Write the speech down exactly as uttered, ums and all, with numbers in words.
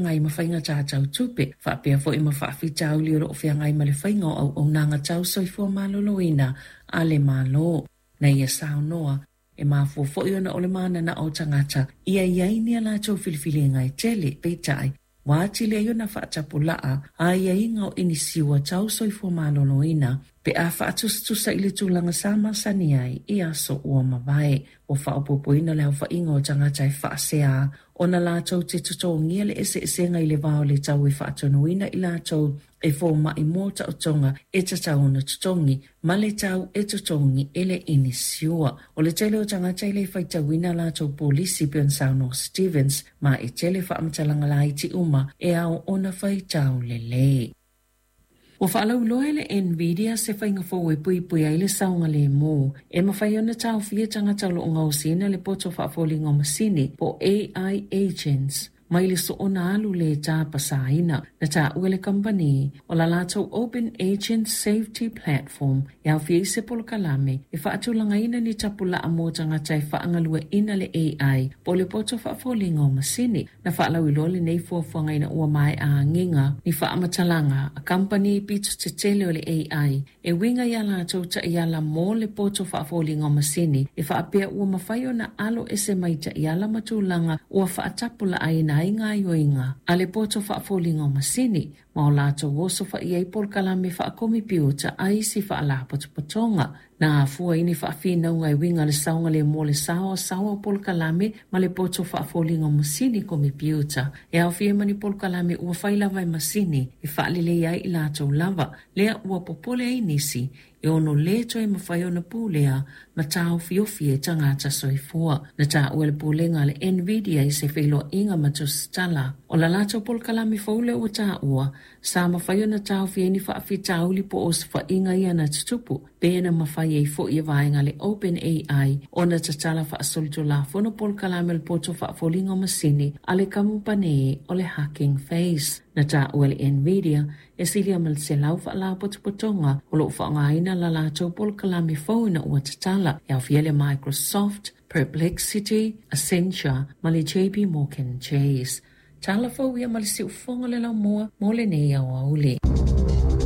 Feagai ma faiga tau tupe, faapea foi ma faafitauli o loo feagai ma le faiga o auaunaga tau soifua maloloina a le Malo. Na ia saunoa, e mafua foi ona o le mananao o tagata ia i ai ni a latou filifiliga e tele, peitai, ua atili ai ona faatapulaa aiaiga o inisiua tau soifua maloloina pe a faatusatusa i le tulaga sa masani ai i aso ua mavae. Ua faaopoopoina le aofaiga o tagata e faasea ona latou te totogia le eseesega i le va o le tau e faatonuina i latou e fomai mo taotoga e tatau ona totogi ma le tau e totogi e le inisiua. O le tele o tagata e le faitauina latou polisi pei ona saunoa Stevens, ma e tele faamatalaga laiti uma e ao ona faitau lelei. Ua faalauiloa e le Nvidia se faiga fou e puipui ai le saogalemu e mafai ona taofia tagata o loo gaosiina le poto faafoliga o masini po A I agents mai le soona alu le tapasaina. Na taua le kamupani o la latou Open Agent Safety Platform e aofia ai se polokalame e faatulagaina ni tapulaa mo tagata e faagalueaiina le A I po o le poto faafoliga o masini. Na faalauiloa lenei fuafuaga ina ua maea agiga ni faamatalaga a kamupani pito tetele o le A I e uiga iā latou taiala mo le poto faafoliga o masini e faapea ua mafai ona alo ese mai taiala ma tulaga ua faatapulaaina ai gaoioiga a le poto faafoliga o masini ma o latou osofai ai polokalame faakomepiuta a isi faalapotopotoga. Na afua ai ni faafinauga e uiga i le saogalemu o le saoasaoa o polokalame ma le poto faafoliga o masini komepiuta e aofia ai ma ni polokalame ua fai lava e masini e faaleleia ai i latou lava, lea ua popole ai nisi e ono lē toe mafai ona pulea ma taofiofi e tagata soifua. Na taua e le pulega a le Nvidia i se feiloaiga ma tusitala, o la latou polokalame fou lea ua taua sa mafai ona taofia ai ni faafitauli po o osofaiga ia na tutupu, pe na mafai ai foi e vaega a le OpenAI ona tatala faasolitulafono polokalame o le poto faafoliga o masini a le kamupani o le Hugging Face. Na taua e le Nvidia e silia ma le selau faalapotopotoga o loo faaaogaina la latou polokalame fou ina ua tatala, e aofia le Microsoft, Perplexity, Accenture ma le J P Morgan Chase. Tala fou ia ma le siufofoga o le laumua mo lenei aoauli.